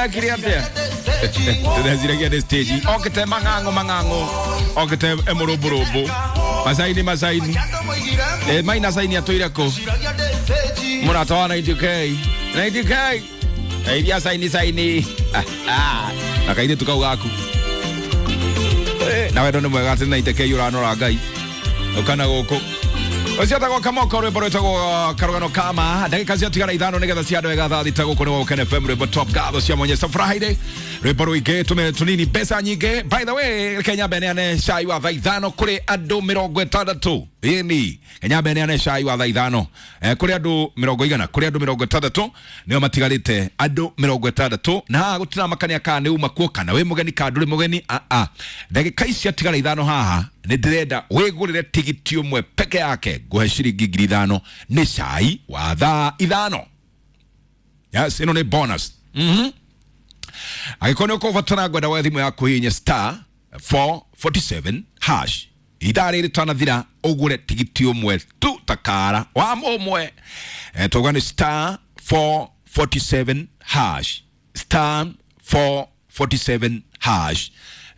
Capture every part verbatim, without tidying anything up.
Wekire atia? Ndĩreciragia nĩ stage. Okĩte mang'ang'o mang'ang'o. Okĩte emũrũmbũrũmbũ. Macaini macaini. Eh, maina saini atũire kũ? Mũrata wa ninety K. ninety K. Iria saini saini. Na kairĩtu kau gaku. Na wendo nĩ mwega atĩ ninety K ũranora Ngai. Ũkana gũkũ. Ũcio etagwo Kamoko, rwĩmbo rwĩtagwo Karũgano Kama. Ndagĩka ciatigara ithano nĩgetha ciandũ wega thaa thita gũkũ nĩ Woken F M, rwĩmbo top gatho cia Mwenyesa Friday. Rwĩmbo rũingĩ tũme tũnini mbeca nyingĩ. By the way, Kenya mbeneane cai wa thaa ithano kũrĩ andũ mĩrongo ĩtandatũ. Ĩni, Kenya mbeneane cai wa thaa ithano. Eh, kũrĩ andũ mĩrongo igana, kũrĩ andũ mĩrongo ĩtandatũ nĩo matigarĩte andũ mĩrongo ĩtandatũ. Na haha gũtiramakania kana nĩ uma kuo kana wĩ mũgeni kana ndũrĩ mũgeni. A a. Ndagĩka ici ciatigara ithano haha nĩ ndĩrenda wĩgũrĩre tigiti ũmwe peke yake ngũhe ciringi ngiri ithano nĩ cai wa thaa ithano. Yes, ĩno nĩ bonus. Mhm. Angĩkorwo nĩ ũkũbatara ngwenda woe thimũ yaku hihinye star four forty-seven hash. Ithaa rĩrĩ tanathira ũgũre tigiti ũmwe tu takara wa mũmwe. Eh, tuga nĩ star four forty-seven hash. Star four forty-seven hash.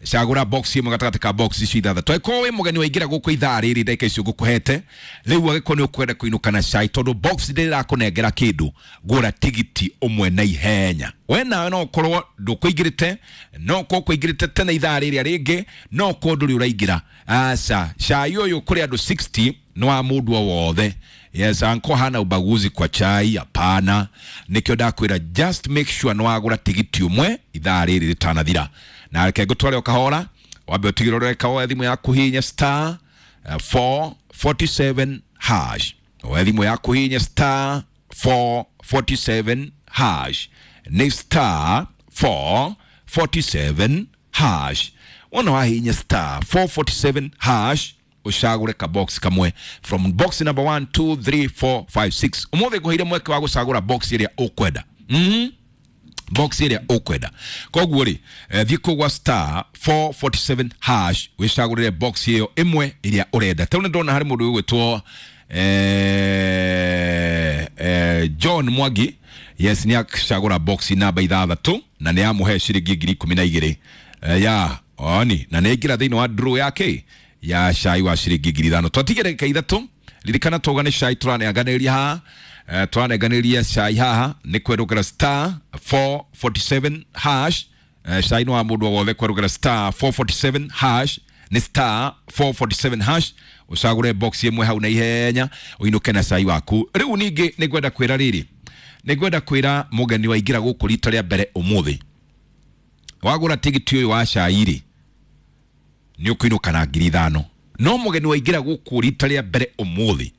Cagũra box ĩmwe gatagatĩ ka box ici ithathatũ. Angĩkorwo wĩ mũgeni waingĩra gũkũ ithaa rĩrĩ ndagĩka icio ngũkũhete, rĩu angĩkorwo nĩ ũkwenda kũinũka na cai tondũ box ndĩrakũnengera kĩndũ, gũra tigiti ũmwe na ihenya. We nawe no ũkorwo ndũkũingĩrĩte, no ũkorwo ũkũingĩrĩte tene ithaa rĩrĩa rĩngĩ, no ũkorwo ndũrĩ ũraingĩra. Aca, cai ũyũ kũrĩ andũ sixty nĩ wa mũndũ o wothe. Yes, anko hana ubaguzi kwa chai, hapana. Nikio ndakwĩra just make sure nĩ wagũra tigiti ũmwe ithaa rĩrĩ rĩtanathira. Na reke ngũtware o kahora, wambe ũtigĩrĩre ũreka woe thimũ yaku hihinya star four forty-seven hash. Woe thimũ yaku hihinya star four forty-seven hash. Nĩ star four forty-seven hash. Wona wahihinya star four forty-seven hash, ũcagũre ka box kamwe from box number one, two, three, four, five, six. Ũmũthĩ ngũheire mweke wa gũcagũra box ĩrĩa ũkwenda. Mm-hmm. Box ĩrĩa ũkwenda. Koguo rĩ, eh, thiĩ kũu gwa star four forty-seven hash wĩcagũrĩre box ĩyo ĩmwe ĩrĩa ũrenda. Tondũ nĩndona harĩ mũndũ ũgwĩtwo, eh, eh, John Mwangi. Yes, nĩ acagũra box namba ithathatũ na nĩ amũhe ciringi ngiri ikũmi na igĩrĩ. Eh, ya, oni, na nĩ aingĩra thĩinĩ wa draw yake ya cai wa ciringi ngiri ithano. Twatigire ndagĩka ithatũ. Ririkana tauga nĩ cai tũranenganĩria haha. Eh, tũranenganĩria cai haha nĩ kwerũkĩra star four forty-seven hash. Eh, cai nĩ wa mũndũ o wothe kwerũkĩra star four forty-seven hash. Nĩ star four forty-seven hash. Ũcagũre box ĩmwe hau na ihenya ũinũke na cai waku. Rĩu ningĩ nĩ ngwenda kwĩra rĩrĩ, nĩ ngwenda kwĩra mũgeni waingĩra gũkũ rita rĩa mbere ũmũthĩ, wagũra tigiti ũyũ wa cai rĩ, nĩ ũkũinũka na ngiri ithano. No mũgeni waingĩra gũkũ rita rĩa mbere ũmũthĩ,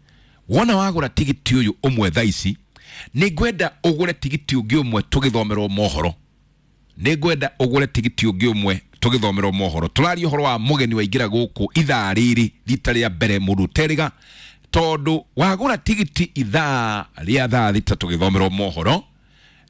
wona wagũra tigiti ũyũ ũmwe thaa ici, nĩ ngwenda ũgũre tigiti ũngĩ ũmwe tũgĩthomerwo mohoro. Nĩ ngwenda ũgũre tigiti ũngĩ ũmwe tũgĩthomerwo mohoro. Tũraria ũhoro wa mũgeni waingĩra gũkũ ithaa rĩrĩ rita rĩa mbere mũndũ ũterĩga, tondũ wagũra tigiti ithaa rĩa thaa thita tũgĩthomerwo mohoro,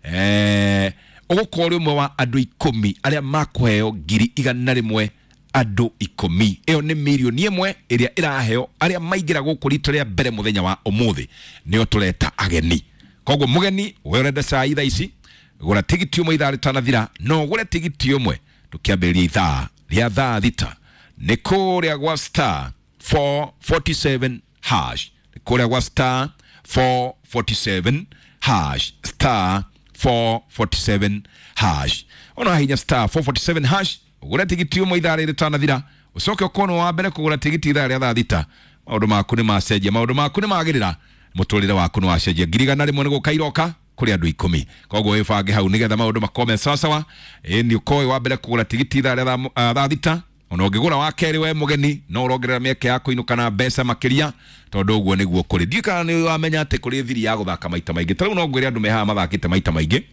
eh, ũgũkorwo ũrĩ ũmwe wa andũ ikũmi arĩa makũheo ngiri igana rĩmwe andũ ikũmi. Ĩyo nĩ mirioni ĩmwe ĩrĩa ĩraheo arĩa maingĩra gũkũ rita rĩa mbere mũthenya wa ũmũthĩ, nĩo tũreta ageni. Koguo mũgeni we ũrenda cai thaa ici, gũra tigiti ũmwe ithaa rĩtanathira, no ũgũre tigiti ũmwe tũkĩambĩrĩria ithaa rĩa thaa thita. Nĩ kũrĩa gwa star four forty-seven hash. Nĩ kũrĩa gwa star four forty-seven hash. Star four forty-seven hash. Ona hinya star four forty-seven hash, ũgũre tigiti ũmwe ithaa rĩrĩ rĩtanathira, ũcoke ũkorwo wa mbere kũgũra tigiti ithaa rĩa thaa thita. Maũndũ maku nĩ macenjia, maũndũ maku nĩ magĩrĩra, mũtũrĩre waku nĩ wacenjia. Ngiri igana rĩmwe nĩ gũka iroka kũrĩ andũ ikũmi. Koguo wĩbange hau nĩgetha maũndũ makorwo me sawasawa. Ĩ, nĩ ũkorwo wĩ wa mbere kũgũra tigiti ithaa rĩa thaa, thaa thita. Ona ũngĩgũra wa kerĩ we mũgeni, no ũrongerera mĩeke ya kũinũka na mbeca makĩria, tondũ ũguo nĩguo kũrĩ. Ndiũĩ kana nĩ wamenya atĩ kũrĩ thiri ya gũthaka maita maingĩ. Ta rĩu no ngwĩre andũ me haha mathakĩte maita maingĩ,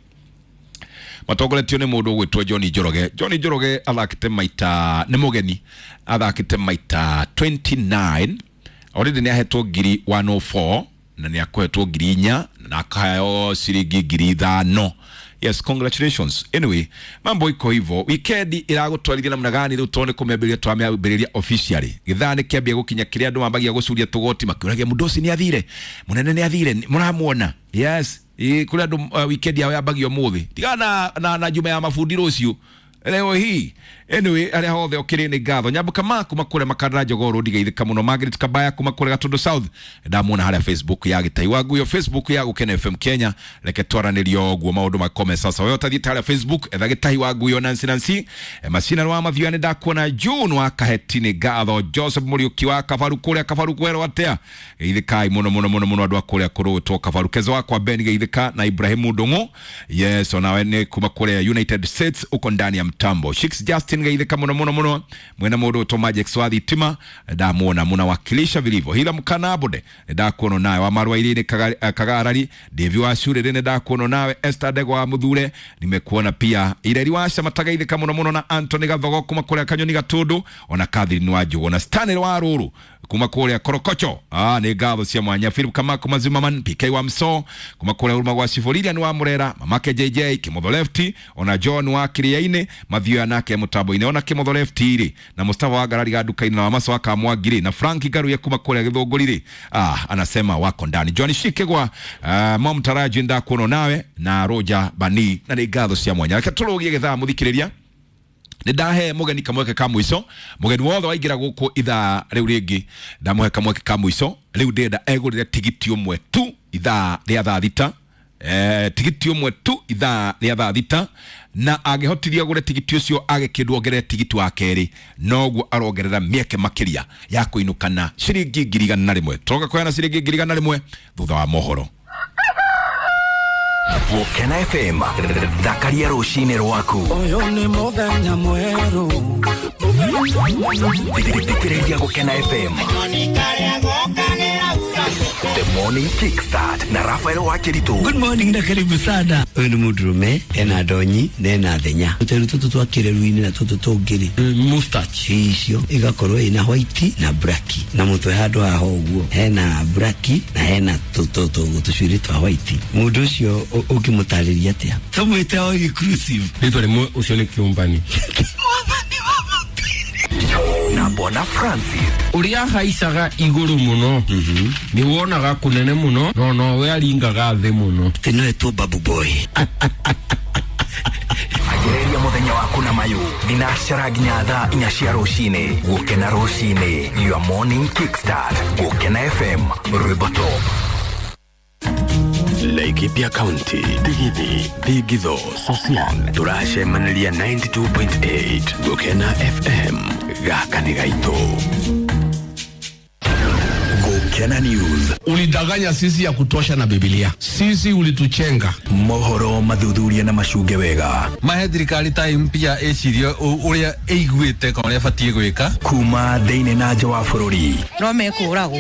matongoretio nĩ mũndũ ũgwĩtwo John Njoroge. John Njoroge athakĩte maita, nĩ mũgeni, athakĩte maita twenty-nine. Already nĩ ahetwo ngiri one oh four na nĩ akũhetwo ngiri inya na akaheo ciringi ngiri ithano. Yes, congratulations. Anyway, mambo iko hivyo. Weekend iragutwarithia namna gani riu tone kumiambiriria twamiambiriria officially. Githaa ni kiambia gukinya kiria andu mambagia gucuria tugoti makiuragia mundu ucio ni athire, munene ni athire, muramuona. Yes, Ĩ kũrĩ andũ uh, weekend yao yambagia ũmũthĩ tigana na, na, na juma ya mabundi rũciũ leo hii. Anyway, arĩa hothe ũkĩrĩ nĩ ngatho. Nyambuka ma kuma kũrĩa Makandara Jogoo Road geithĩka mũno. Margaret Kabaya kuma kũrĩa Gatundu South ndamuona harĩa Facebook ya Gĩtai wa Nguyo, Facebook ya Gũkena F M Kenya. Reke twaranĩrio ũguo maũndũ makome sasa. Wewe ũtathiĩte harĩa Facebook etha Gĩtai wa Nguyo Nancy Nancy e, Macina wa Mathioya nĩ ndakuona. June wa Kaheti nĩ ngatho. Joseph Mũriũki wa Kabaru kũrĩa Kabaru kwerwo atĩa, geithĩkai mũno mũno mũno mũno andũ a kũrĩa kũrũtwo Kabaru. Kezo wakwa Ben geithĩka na Ibrahimu Ndung'u, yes, onawe nĩ kuma kũrĩa United States uko ndani ya mtambo. Shix Justin geithĩka mũno mũno mũno mwena mũndũ ũtwo Majex wa thitima ndamuona munawakilisha vilivyo. Hila mkanabode ndakuona nawe wa marwa ile kagarari Devi wa shure rene ndakuona nawe. Esther Dego wa Muthure nimekuona pia. Ireri wa Shamataga mũno mũno na Anthony Gathogo kuma kũrĩa Kanyoni Gatundu ona Catherine wa Njugu na Stanley wa Ruru kuma kũrĩa Korokocho. Ah, nĩ ngatho cia mwanya. Philip Kamako Mazimaman P K wa Mso kuma kũrĩa Huruma gwa Ciboriria ni wa Murera mamake J J Kimotho Lefty ona John wa Kiriaini Mathioya nake mutambo-inĩ ona Kimotho Lefty rĩ na Mustafa wa Ngarari ga nduka-inĩ na Wamaso wa Kamwangiri na Frank Garuye kuma kũrĩa Gĩthũngũri rĩ, ah, anasema wako ndani. John Shikegwa uh, mom taraji ndakuona nawe na Roger Bani na nĩ ngatho cia mwanya. Reke tũrũgie gĩthaa mũthikĩrĩria nĩ ndahe mũgeni kamweke ka mũico. Mũgeni wothe waingĩra gũkũ ithaa rĩu rĩngĩ ndamũhe kamweke ka mũico. Rĩu ndĩrenda egũrĩre tigiti ũmwe tu ithaa rĩa thaa thita, eh, tigiti ũmwe tu ithaa rĩa thaa thita, na angĩhotithia gũre tigiti ũcio age kĩndũ ongerere tigiti wa kerĩ noguo arongerera mĩeke makĩria ya kũinũkana ciringi ngiri igana na rĩmwe. Tũroka kũheana ciringi ngiri igana rĩmwe thutha wa mohoro. Gũkena F M thakaria rũcinĩ rwaku. Ũyũ nĩ mũthenya mwerũ. Thikĩrĩria Gũkena F M. The Morning Kickstart na Rafael Wakiritu. Good morning na karibu sana. Ũyũ nĩ mũndũrũme ena ndonyi na ena thenya. Tũteru tũtũ twa kĩreru-inĩ na tũtũ tũngĩ rĩ, mustache icio igakorwo ina white na black, na mũtwe handũ haha ũguo hena black na hena tũcuĩrĩ twa white. Mũndũ ũcio ũngĩmũtarĩria atĩa? Tũmwĩte o inclusive. Rĩtwa rĩmwe ũcio nĩ kĩũmbani. Na Bwana Francis uria haicaga iguru muno ni wonaga kunene muno no no we aringaga thi muno. Tino etwo Babu Boy. Agereria muthenya waku na mayu thinacara nginya thaa inya cia rucini. Gukena rucini, your morning kickstart. Gukena F M rwimbo top. Laikipia County, Tigithi, Thingitho, Sosian, turacemaniria ninety-two point eight Gukena F M gaka nĩ gaitũ. Gukena News. Ulidanganya sisi ya kutosha na Biblia. Sisi ulituchenga. Mohoro mathuthuria na macunge wega. Mahe thirikari ta mpya ecirie uria iguite kana uria batie gwika. Kuma thiini na nja wa bururi. No mekũragwo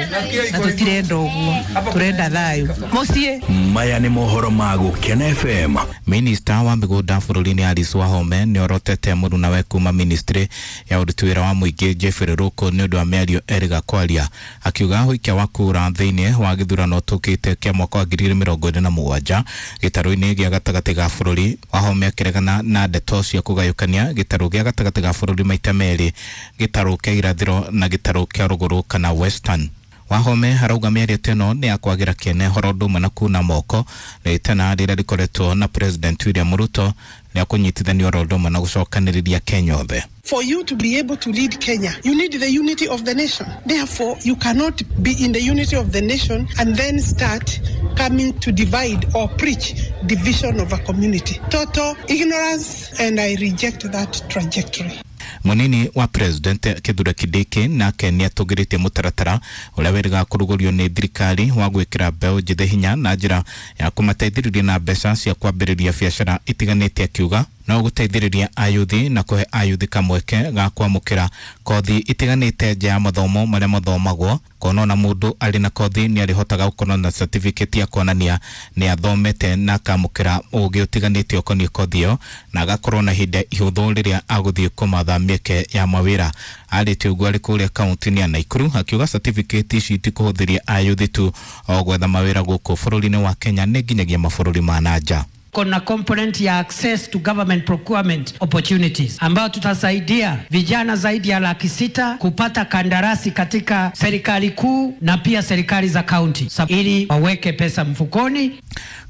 na tũtirenda ũguo, tũrenda thayũ. Mũciĩ. Maya nĩ mohoro ma Gukena F M. Minister wa mĩgũnda bũrũri-inĩ Alice Wahome nĩorotete mũrunawe kuma ministry ya ũruti wĩra wa mũingĩ Jeffrey Ruku nĩ ũndũ wa mĩario erĩga kwaria, akiuga ũikia wa kura thĩinĩ wa gĩthurano tũkĩte kĩa mwaka wa ngiri igĩrĩ mĩrongo ĩrĩ na mũgwanja gĩtarũ-inĩ gĩa gatagatĩ ga bũrũri. Wahome akĩregana na ndeto cia kũgayũkania gĩtarũ gĩa gatagatĩ ga bũrũri maita merĩ, gĩtarũ kĩa irathĩro na gĩtarũ kĩa rũgũrũ kana Western. Wahome arauga mĩario ta ĩno nĩ ya kwagĩra kĩene horo ũndũ ũmwe na kuna moko rĩtana rĩrĩa rĩkoretwo na President William Ruto rĩa kũnyitithanio oro ũndũ ũmwe na gũcokanĩrĩria Kenya othe. For you to be able to lead Kenya, you need the unity of the nation. Therefore, you cannot be in the unity of the nation and then start coming to divide or preach division of a community. Total ignorance, and I reject that trajectory. Munini wa President Kithure Kindiki nake nĩatũgĩrĩtie mũtaratara ũrĩa wĩrĩga kũrugũrio nĩ thirikari wa gwĩkĩra mbeũ njĩthĩ hinya na njĩra ya kũmateithĩrĩria na mbeca cia kwambĩrĩria biacara itiganĩte, akiuga no gũteithĩrĩria ayuthi na kũhe ayuthi kamweke ga kwamũkĩra kothi itiganĩte nja ya mathomo marĩa mathomagwo, kuona ona mũndũ arĩ na kothi nĩ arĩhotaga gũkorwo na certificate ya kuonania nĩ athomete na akamũkĩra ũgĩ ũtiganĩte ũkoniĩ kothi ĩyo, na agakorwo na ihinda ihũthũ rĩrĩa agũthiĩ kũmatha mĩeke ya mawĩra. Arĩtie ũguo arĩ kũrĩa kaunti-inĩ ya Nakuru, akiuga certificate ici ti kũhũthĩria ayuthi tu o gwetha mawĩra gũkũ bũrũri-inĩ wa Kenya, nĩ nginyagia mabũrũri ma na nja. Kuna component ya access to government procurement opportunities ambayo tutasaidia vijana zaidi ya laki sita kupata kandarasi katika serikali kuu na pia serikali za county ili waweke pesa mfukoni.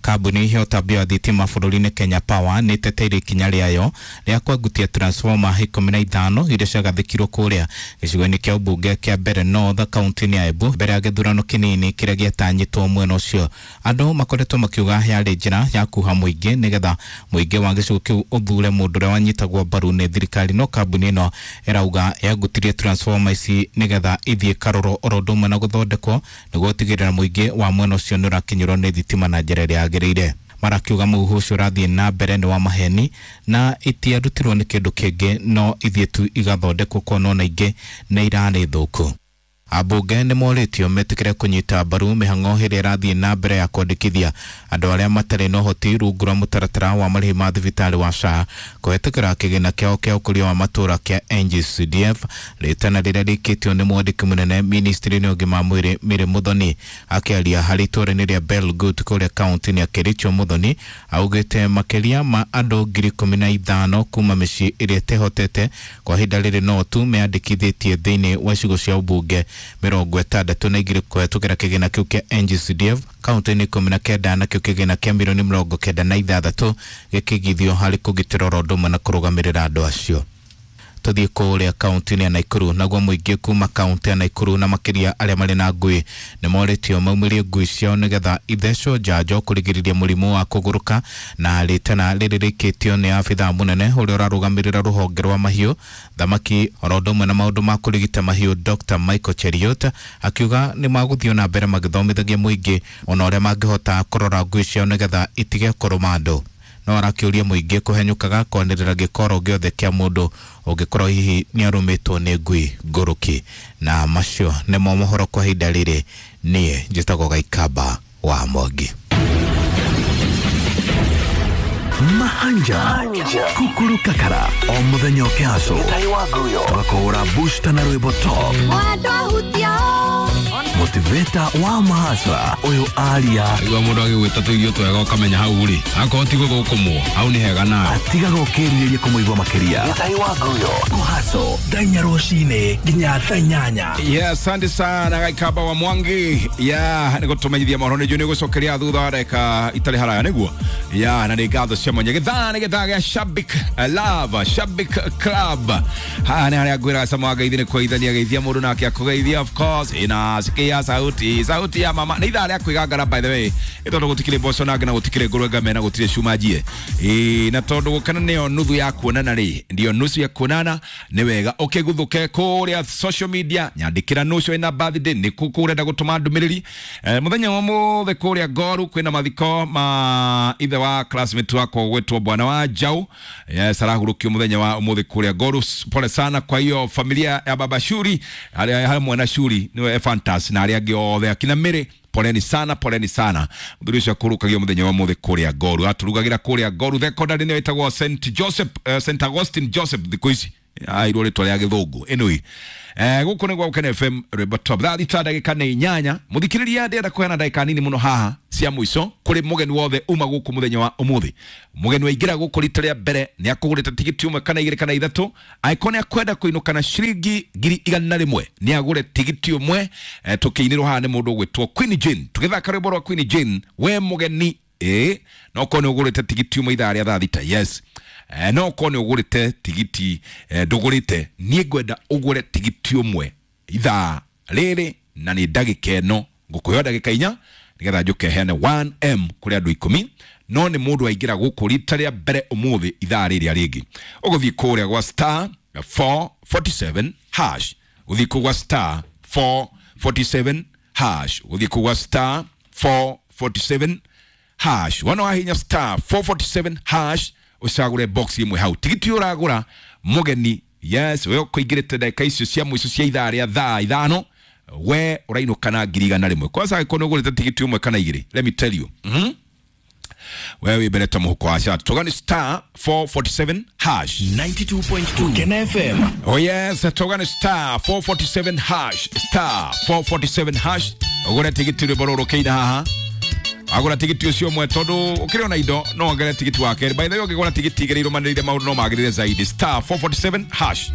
Kambuni ya ũtambia wa thitima bũrũri-inĩ Kenya Power nĩ ĩteteire ikinya rĩayo rĩa kwengutia transformer ikũmi na ithano iria ciagathĩkirwo kũrĩa gĩcigo-inĩ kĩa ũmbunge kĩa Mbeere North kaunti-inĩ ya Embu mbere ya gĩthurano kĩnini kĩrĩa gĩatanyĩtwo mwena ũcio. Andũ makoretwo makiuga yarĩ njĩra ya kuha mũingĩ nĩgetha mũingĩ wa gĩcigo kĩu ũthure mũndũ ũrĩa wanyitagwo mbaru nĩ thirikari, no kambuni ĩno ĩrauga yangutirie transformer ici nĩgetha ithiĩ karoro oro ũndũ ũmwe na gũthondekwo nĩguo gũtigĩrĩra mũingĩ wa mwena ũcio nĩ ũrakinyĩrwo nĩ thitima na njĩra ĩrĩa yagĩrĩire. Marakiuga mũhuhu ũcio ũrathiĩ na mbere nĩ wa maheni na itiarutirwo nĩ kĩndũ kĩngĩ no ithiĩ tu igathondekwo kuona ona ingĩ nĩ irarĩ thũku. Ambunge nĩ morĩtio metĩkĩre kũnyita mbaru mĩhang'o ĩrĩa ĩrathiĩ na mbere ya kwandĩkithia andũ arĩa matarĩ na ũhoti rungu rwa mũtaratara wa marĩhi ma thibitarĩ wa S H A kũhetũkĩra kĩgĩna kĩao kĩa ũkũria wa matũũra kĩa N G C D F, rĩtana rĩrĩa rĩkĩtio nĩ mwandĩki mũnene ministry-inĩ ya ũgima wa mwĩrĩ Mary Muthoni. Akĩaria harĩ itũũra-inĩ rĩa Belgut kũrĩa kaunti-inĩ ya Kericho, Muthoni augĩte makĩria ma andũ ngiri ikũmi na ithano kuma mĩciĩ ĩrĩa ĩtehotete kwa ihinda rĩrĩ no tu meyandĩkithĩtie thĩinĩ wa icigo cia ũmbunge mĩrongo ĩtandatũ na igĩrĩ kũhetũkĩra kĩgĩna kĩu kĩa N G C D F kaunti-inĩ ikũmi na kenda, nakĩo kĩgĩna kĩa mirioni mĩrongo kenda na ithathatũ gĩkĩigithio harĩ kũgitĩra oro ũndũ ũmwe na kũrũgamĩrĩra andũ acio. Tũthiĩ kũrĩa kaunti-inĩ ya Nakuru, naguo mũingĩ kuma kaunti ya Nakuru na makĩria arĩa marĩ na ngui nĩ morĩtio maumĩrie ngui ciao nĩgetha ithecwo njanjo kũrigĩrĩria mũrimũ wa kũgũrũka, na rĩtana rĩrĩ rĩkĩtio nĩ abithaa mũnene ũrĩa ũrarũgamĩrĩra rũhonge rwa mahiũ, thamaki oro ũndũ ũmwe na maũndũ ma kũrigita mahiũ Doctor Michael Cheruiyot, akiuga nĩ magũthiĩ na mbere magĩthomithagia mũingĩ ona ũrĩa mangĩhota kũrora ngui ciao nĩgetha itige kũrũma andũ. No arakĩũria mũingĩ kũhenyũkaga kwanĩrĩra gĩkoro gĩothe kĩa mũndũ ũngĩkorwo hihi nĩ arũmĩtwo nĩ ngui ngũrũki. Na macio nĩmo mohoro kwa ihinda rĩrĩ. Niĩ njĩtagwo Gaikamba wa Mwangi. Mahanja Kukuru Kakara o muthenya ũkĩhaco twakũhũra booster na rwĩmbo top motivator wa mahasra ũyũ aria igua mũndũ agĩgwĩta tũirio twega ũkamenya hau rĩ akorwo ti gũthũkũmwo hau nĩ hega nawe atigaga ũkĩrirĩria kũmũigua makĩria kũhaco thaa inya rũcinĩ nginya thaa inyanya. Yeah, asante sana Gaikamba wa Mwangi. Yeah, nĩ gũtũmenyithia mohoro nĩ njũĩ nĩ gũcokeria thutha wa ndagĩka itarĩ haraya nĩguo. Yeah, na nĩ ngatho cia mwanya. Gĩthaa nĩ gĩthaa gĩa Shabik Love, Shabik Club. Haha nĩ harĩa ngwĩraga cama wa ngeithi nĩ kũgeithania geithia mũndũ nake akũgeithia, of course inasikia sauti sauti ya mama. Nĩ ithaa rĩa kwĩgangara by the way, ĩ tondũ gũtikĩrĩ mboco nange na gũtikĩrĩ ngũrwe ngame na gũtirĩ cuma njie. Ĩ na tondũ gũkena nĩyo nuthu ya kuonana rĩ, ndio nusu ya kuonana, nĩ wega ũkĩguthũke kũrĩa social media nyandĩkĩra nũcio ĩna birthday nĩ kũ ũrenda gũtũma ndũmĩrĩri. Eh, mũthenya wa ũmũthĩ kũrĩa Ngoru kwĩna mathiko ma ithe wa classmate wakwa gwĩtwo Bwana wa Jau. Yes, arahurũkio mũthenya wa ũmũthĩ kũrĩa Ngoru. Pole sana kwa hiyo familia ya baba Shuri arĩa hamwe na Shuri niwe Fantas na arĩa angĩ othe akina Mary. Poleni sana, poleni sana. Mũthuri ũcio akũrũkagio mũthenya wa ũmũthĩ kũrĩa Ngoru. Atũrugagĩra kũrĩa Ngoru Secondary nĩyo ĩtagwo Saint Joseph, uh, Saint Augustine Joseph thikũ ici airwo rĩtwa rĩa gĩthũngũ. Anyway, eh gũkũ nĩ gwa Gũkena F M rwĩmbo top thaa thita ndagĩka nĩ inyanya. Mũthikĩrĩria ndĩrenda kũheana ndagĩka nini mũno haha cia mũico kũrĩ mũgeni wothe uma gũkũ mũthenya wa ũmũthĩ. Mũgeni waingĩra gũkũ rita rĩa mbere nĩ akũgũrĩte tigiti ũmwe kana igĩrĩ kana ithatũ, angĩkorwo nĩ akwenda kũinũka na ciringi ngiri igana rĩmwe nĩ agũre tigiti ũmwe. Eh, tũkĩinĩrwo haha nĩ mũndũ ũgwĩtwo Queen Jane. Tũgĩthaka rwĩmbo rwa Queen Jane, we mũgeni ĩ no korwo nĩ ũgũrĩte tigiti ũmwe ithaa rĩa thaa thita, yes. Eh, no korwo nĩ ũgũrĩte tigiti eh, ndũgũrĩte, niĩ ngwenda ũgũre tigiti ũmwe ithaa rĩrĩ na nĩ ndagĩka ĩno ngũkũheo ndagĩka inya nĩgetha njũke heane one M kũrĩ andũ ikũmi, no nĩ mũndũ waingĩra gũkũ rita rĩa mbere ũmũthĩ ithaa rĩrĩa rĩngĩ. Ũgũthiĩ kũrĩa gwa star four forty-seven hash, ũthiĩ kũu gwa star four forty-seven hash, ũthiĩ kũu gwa star four forty-seven hash. Wona wahinya star four forty-seven hash ũcagũre box ĩmwe hau tigiti ũragũra mũgeni. Yes, we ũkũingĩrĩte ndagĩka icio cia mũico cia ithaa rĩa thaa ithano, we ũrainũka na ngiri igana rĩmwe. Kwanza angĩkorwo nĩ ũgũrĩte tigiti ũmwe kana igĩrĩ, let me tell you, mm-hmm. we wĩ mbere ta mũhuko wa chat. Tũgani star four forty-seven hash ninety-two point two Gũkena F M. Oh yes, tũgani star four forty-seven hash, star four forty-seven hash ũgũre tigiti rwĩmbo rũrũ kĩina haha. Agũra tigiti ũcio ũmwe tondũ ũkĩrĩ ona indo no wongerere tigiti wa kerĩ. By the way, ũngĩgũra tigiti igĩrĩ irũmanĩrĩire maũndũ no magĩrĩre zaidi. Star four forty-seven hash.